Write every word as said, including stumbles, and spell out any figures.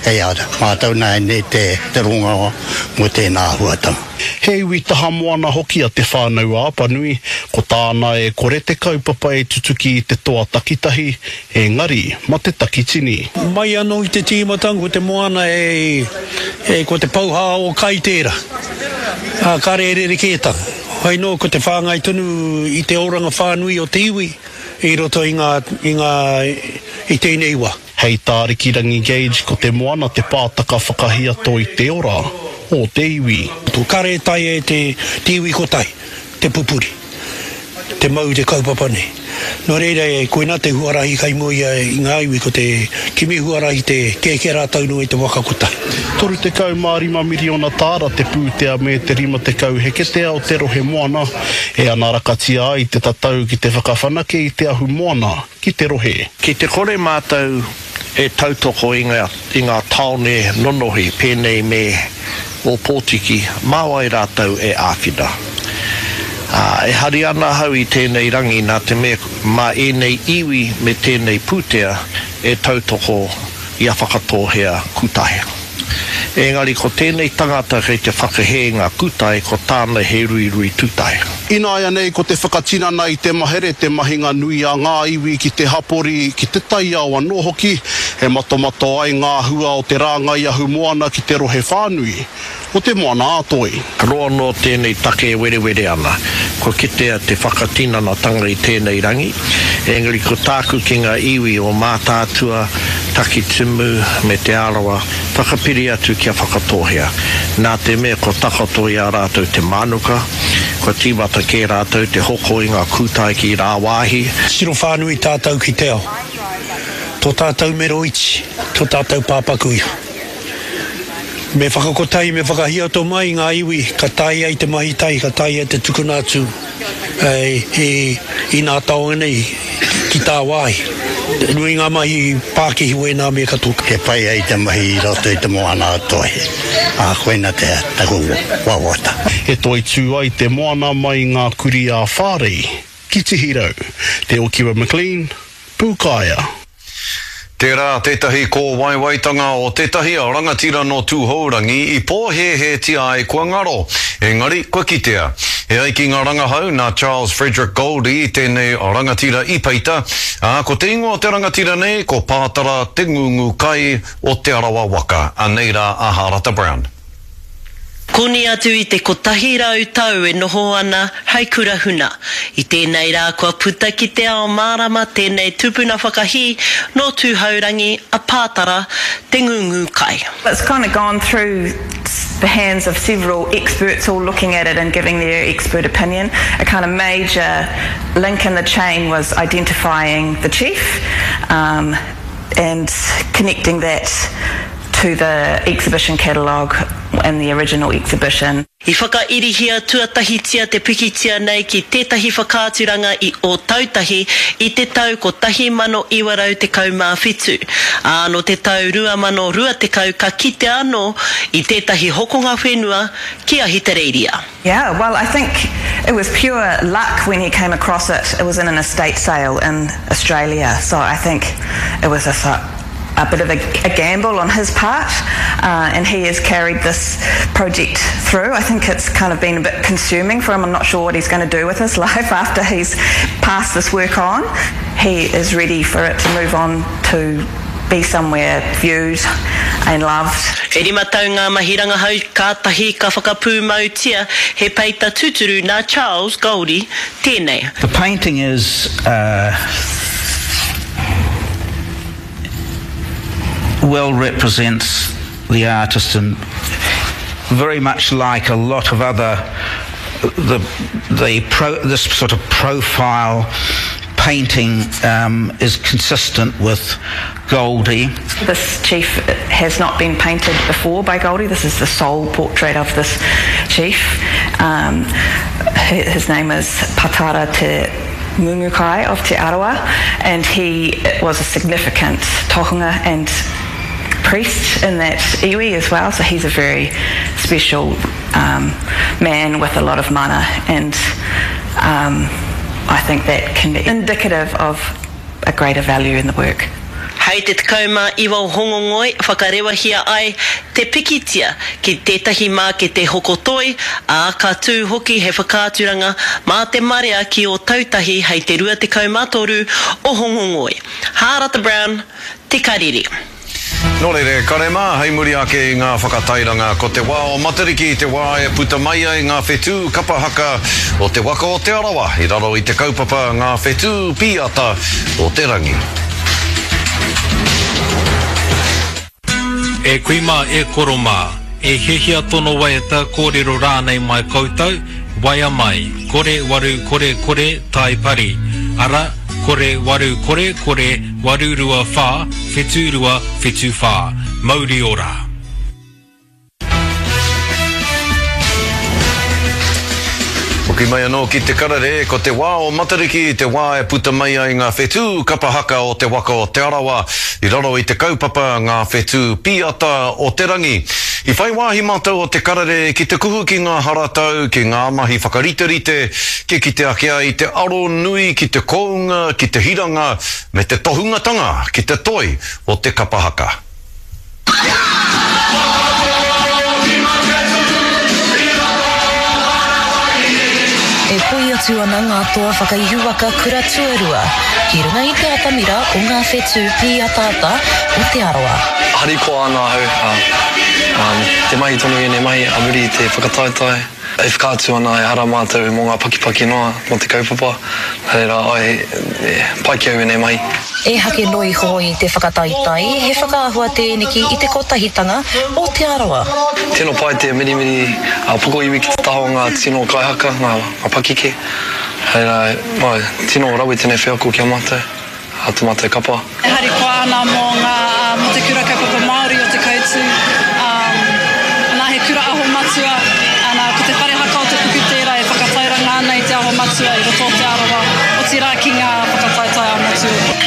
Hei a mātou nā nei te, te ronga mo tēnā āhuatanga. He iwi taha moana hoki a Te Whānau-a-Apanui, ko tāna e kore te kaupapa e tutuki i te toa takitahi, engari ma te takitini. Mai anō i te tīmatanga ko te moana e, e ko te pouhā o kai tērā. Ā, kāre e rerekētanga. Hoi nō ko te whāngai tonu i te oranga whānui o te iwi i roto i ngā, i ngā, i tēnei wā. Hei tā Rikirangi Gage ko te moana te pātaka whakahiato i te ora o te iwi. Kare taea e te, te iwi kotahi te pupuri, te mau te kaupapa nei. Nō reira, e, koina te huarahi kai mua i a, i ngā iwi ko te kimi huarahi te kēkē rātou noa i te waka kotahi. Toru tekau mā rima miriona tāra te pūtea me te rima tekau heketea o te rohe moana e anarakatia ai te tatau ki te whakawhanake i te ahu moana ki te rohe. Ki te kore mātou e tautoko i ngā, i ngā tāone nonohi pēnei me Ōpōtiki, mā wai rātou e āwhina? Ā, e hari ana ahau i tēnei rangi nā te mea mā ēnei iwi me tēnei pūtea e tautoko i a Whakatōhea Kūtahe. Engari ko tēnei tangata kei te whakahē ngā kūtae ko tāna he ruirui tūtae. Ināianei ko te whakatinana i te mahere te mahinga nui a ngā iwi ki te hapori, ki te taiao anō hoki, e matomato ai ngā hua o te rāngai ahumoana ki te rohe whānui o Te Moana-a-Toi. Roa noa tēnei take e werewere ana. Kua kitea te whakatinanatanga i tēnei rangi, engari ko tāku ki ngā iwi o Mātaatua, Takitimu me Te Arawa, whakapiri atu kia Whakatōhea. Nā te mea kua takoto i a rātou te mānuka, kua tīmata kē rātou te hoko i ngā kūtae ki rāwāhi. Tiro whānui tātou ki te ao. Tō tātou mero iti, tō tātou pāpaku iho. Me whakakotahi, me whakahiato mai ngā iwi ka taea ai te mahi tahi, ka taea ai te tukuna atu i nā taonga nei ki tāwāhi. Nui ngā mahi pākihi wēnā mea katoa. He pai ai te mahi i roto i te moana a Toi, ā, koina te taku wawata. E toitū ai te moana mai i ngā kurī ā-Whārei ki Tihirau. Te Okiwa McLean, Pūkaea. Tērā tētahi kōwaiwaitanga o tētahi rangatira nō Tūhourangi i pōhēhētia ai kua ngaro, engari kua kitea. E ai ki ngā rangahau nā Charles Frederick Goldie tēnei rangatira i peita, ā, ko te ingoa o te rangatira nei ko Pātara Te Ngungu Kai o Te Arawa waka. Anei rā a Hārata Brown. Koni atu i te kotahi rau tau e noho ana hei kura huna. I tēnei rā kua puta ki te ao mārama tēnei tupuna whakahī nō Tūhourangi a Pātara Te Ngungu Kai. It's kind of gone through the hands of several experts all looking at it and giving their expert opinion. A kind of major link in the chain was identifying the chief um, and connecting that to the exhibition catalogue and the original exhibition. I whakairihia tuatahitia te pikitia nei ki tētahi whakaaturanga i Ōtautahi i te tau kotahi mano iwa rau tekau mā whitu, ā, nō te tau rua mano rua tekau ka kitea anō i tētahi hokonga whenua ki Ahitereiria. Yeah, well I think it was pure luck when he came across it. It was in an estate sale in Australia, so I think it was a a bit of a, a gamble on his part, uh, and he has carried this project through. I think it's kind of been a bit consuming for him. I'm not sure what he's gonna do with his life after he's passed this work on. He is ready for it to move on to be somewhere viewed and loved. E rima tau ngā mahi rangahau kātahi ka whakapūmautia he peita tūturu nā Charles Goldie tēnei. The painting is, uh, well represents the artist and very much like a lot of other the, the pro, this sort of profile painting, um, is consistent with Goldie. This chief has not been painted before by Goldie. This is the sole portrait of this chief. Um, his name is Patara Te Ngungukai of Te Arawa, and he was a significant tohunga and priest in that iwi as well, so he's a very special, um, man with a lot of mana, and, um, I think that can be indicative of a greater value in the work. Hei te tekau mā iwa o Hongongoi whakarewahia ai te pikitia ki tētahi mākete hoko toi, ā, ka tū hoki he whakaaturanga mā te marea ki Ōtautahi hei te rua tekau mā toru o Hongongoi. Hārata Brown, Te Karere. Nō reira, e kare mā, hei muri ake i ngā whakatairanga, ko te wā o Matariki te wā e puta mai ai ngā whetū kapa haka o te waka o Te Arawa i raro i te kaupapa Ngā Whetū Pīata o te Rangi. E kui mā, e koro mā, e hiahia tono waiata kōrero rānei mai koutou, waea mai, kore waru kore kore tai pari, ara, kore waru kore kore waru rua whā whetū rua whetū whā. Mauri ora! Hoki mai anō ki te karere, ko te wā o Matariki te wā e puta mai ai ngā whetū kapa haka o te waka o Te Arawa i raro i te kaupapa Ngā Whetū Pīata o te Rangi. I whai wāhi mātou o te karere ki te kuhu ki ngā haratau, ki ngā mahi whakariterite, kia kite ake ai te aro nui ki te kounga, ki te hiranga, me te tohungatanga ki te toi o te kapa haka. E poi atu ana ngā toa whakaihuwaka kura tuarua ki runga i te atamira o ngā whetū pīataata o Te Arawa. Harikoa ana ahau, ā, te mahi tonu ēnei mahi a muri i te whakataetae. E whakaatu ana ehara mātou mō ngā pakipaki noa mō te kaupapa, nā reira, āe, e pai ki au ēnei mahi. Ehake noa iho i te whakataetae, he whakaahua tēneki i te kotahitanga o Te Arawa. Tino pai te mirimiri a pokoiwi ki te taha o ngā tino kaihaka, ngā pakeke. Hei rā, āe, tino rawe tēnei wheako ki a mātou, a tō mātou kapa. E harikoa ana mō ngā, mō te Kura Kaupapa Māori o Te Koutu, nā he kura aho matua, nā, ko te whare haka o Te Puku tērā e whakatairanga ana i te aho matua i roto